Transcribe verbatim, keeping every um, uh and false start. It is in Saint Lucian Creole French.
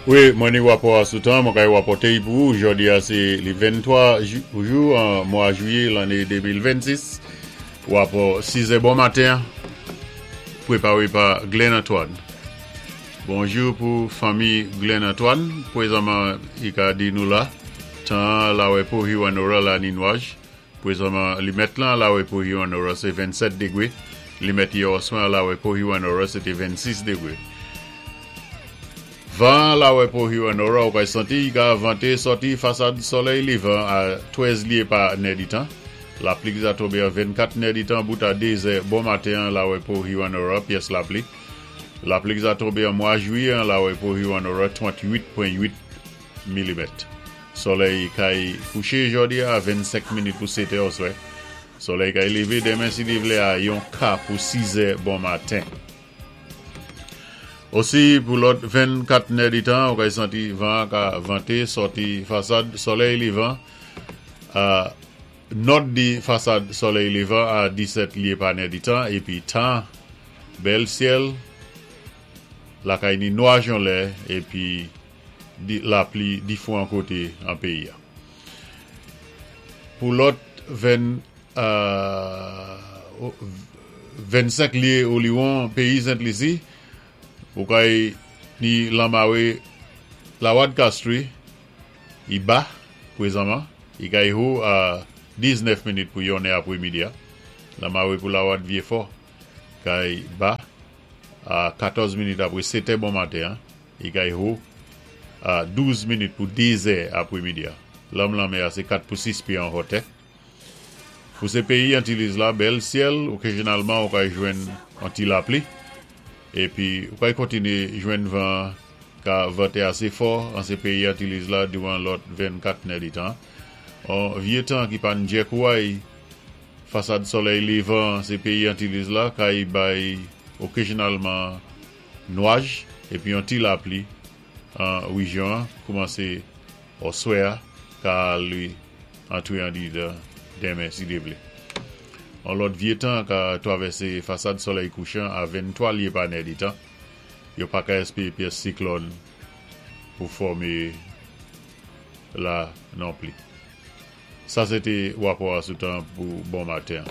Wi, mwen ni wapò a sou tan, mwen kay wapòté pou jòdi a sé li venntwa jou an mwa jwiyé lanné de mil vennsis. Wapò sizè bon maten, pwépawé pa Glenn Antoine. Bonjou pou fanmi Glenn Antoine, pwézanman i ka di nou la, tan lawè pou Hewanorra la ni nwaj. Pwézanman li mèt lan lawè pou Hewanorra sé vennsèt dégwé, li mèt yè oswa lawè pou Hewanorra sé té vennsis dégwé. Van lawè pou Hewanorra ou kay santi i ka vanté sòti fasad solèy lévan a twèz lyé pa nèditan. Lapli ki za tonbé a vennkat nèditan bout a dé zè bon maten lawè pou Hewanorra, pyès lapli. Lapli ki za tonbé an mwa jwiyé lawè pou Hewanorra, tranntwit pwen wit milimèt. Solèy kay kouché jòdi a vennsenk minit pou sèt è oswè. Solèy kay lévé denmen si Dye vlé a yon ka pou sizè bon maten. Osi pou lòt vennkat nèditan, ou kay santi van ka vanté sòti fasad solèy lévan a nòd di fasad solèy lévan a disèt lyé pa nèditan, épi tan bèl syèl la kay ni nwaj yon lè épi di, lapli difwan koté an péyi a. Pou lòt ven, euh, vennsenk lyé oliwon péyi Sent Lisi, ou kay ni lanmawé Lawad Castries, i ba, pwézanman, i kay ho a diznèf minit pou yonnè apwémidi a. Lanmawé pou Lawad Vyéfò, kay ba a katòz minit apwé sètè bon maten, i kay ho a douz minit pou dé zè apwémidi a. Lanm lanmè a sé kat pou sis pyé an hotè. Pou sé péyi Antiliz la, bèl syèl, okazyonalman ou kay jwenn an ti lapli, épi ou kay kontiné jwenn van ka vanté asé fò an sé péyi Antiliz la diwan lòt vennkat nèditan. An vyé tan ki pan djèk ouay, fasad solèy lévan sé péyi Antiliz la kay bay okazyonalman nwaj épi an ti lapli an wéjyon koumansé oswè ka li antré an di denmen si Dye vlé. An lòt vyé tan ka twavèsé fasad solèy kouchan a venntwa lyé pa nèditan. Yo pa ka èspéwé pyès siklòn pou fòmé la non pli. Sa sé té wapò a sou tan pou bon maten.